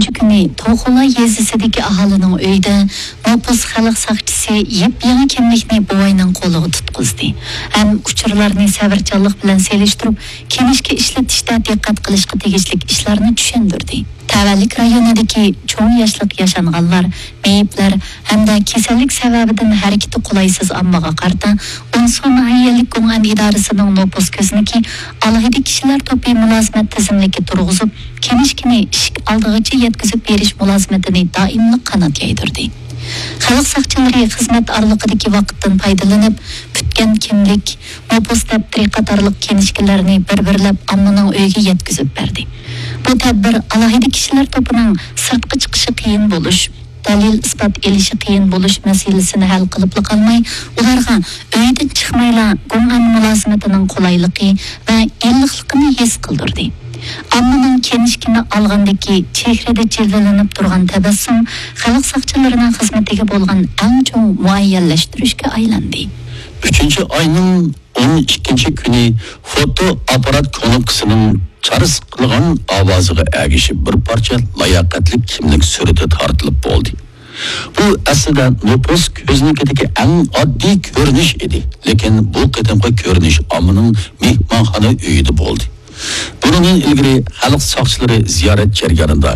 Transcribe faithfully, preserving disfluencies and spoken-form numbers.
ئۈچىنچى كۈنى توخۇلا يېزىسىدىكى ئاھالىنىڭ ئۆيىدە نوپۇس خەلق ساقچىسى يېپيېڭى كىملىكنى بوۋاينىڭ قولىغا تۇتقۇزدى ھەم ئۇچۇرلارنى سەۋرچانلىق بىلەن سېلىشتۇرۇپ، كىنىشكا ئىشلىتىشتە دىققەت قىلىشقا تېگىشلىك ئىشلارنى چۈشەندۈردى. تەۋەلىك رايونىدىكى چوڭ ياشلىق ياشانغانلار، مېيىپلەر ھەمدە كېسەللىك سەۋەبىدىن ھەرىكىتى قولايسىز ئاممىغا قارىتا، ئونسۇ ناھىيەلىك گۇڭئەن ئىدارىسىنىڭ نوپۇس كۆزنىكى ئالاھىدە كىشىلەر توپى مۇلازىمەت تىزىملىكى تۇرغۇزۇپ، كىنىشكىنى ئىشىك ئالدىغىچە يەتكۈزۈپ بېرىش مۇلازىمىتىنى دائىملىق قانات يايدۇردى. خەلق ساقچىلىرى خىزمەت ئارىلىقىدىكى ۋاقىتتىن پايدىلىنىپ، پۈتكەن كىملىك، نوپۇس دەپتىرى قاتارلىق كىنىشكىلەرنى بىر-بىرلەپ ئاممىنىڭ ئۆيىگە يەتكۈزۈپ بەردى. بۇ تەدبىر ئالاھىدە كىشىلەر توپىنىڭ سىرتقا چىقىشى قىيىن بولۇش، دەلىل-ئىسپات ئېلىشى قىيىن بولۇش مەسىلىسىنى ھەل قىلىپلا قالماي، ئۇلارغا ئۆيدىن چىقمايلا گۇڭئەن مۇلازىمىتىنىڭ قولايلىقى ۋە ئىللىقلىقىنى ھېس قىلدۇردى. ئاممىنىڭ كىنىشكىنى ئالغاندىكى چېھرىدە جىلۋىلىنىپ تۇرغان تەبەسسۇم خەلق ساقچىلىرىنىڭ خىزمىتىگە بولغان ئەڭ چوڭ مۇئەييەنلەشتۈرۈشكە ئايلاندى. ئۈچىنچى ئاينىڭ ئون ئىككىنچى كۈنى فوتو ئاپپارات كۇنۇپكىسىنىڭ چارس قىلغان ئاۋازىغا ئەگىشىپ بىر پارچە لاياقەتلىك كىملىك سۈرىتى تارتىلىپ بولدى. بۇ ئەسلىدە نوپۇس كۆزنىكىدىكى ئەڭ ئاددىي كۆرۈنۈش ئىدى، لېكىن بۇ قېتىمقى كۆرۈنۈش ئاممىنىڭ مېھمانخانا ئۆيىدە بولدى. بۇنىڭدىن ئىلگىرى خەلق ساقچىلىرى زىيارەت جەريانىدا